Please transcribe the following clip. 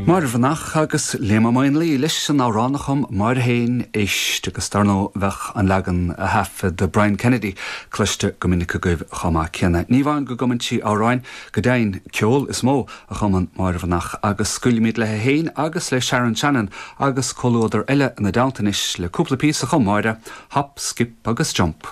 Máire Bhreathnach agus Liam Ó Maonlaí leis an amhrán a chum Máire féin, Éist, agus dar ndóigh bheadh an leagan a thaifead Brian Kennedy cloiste go minic agaibh chomh maith céanna. Ní amháin go gcumann sí amhráin, go deimhin, ceol is mó a chumann Máire Bhreathnach agus scaoilfimid léi féin agus le Sharon Shannon agus comhluadar eile ina dteannta anois le cúpla píosa a chum Máire, Hop, Skip agus Jump.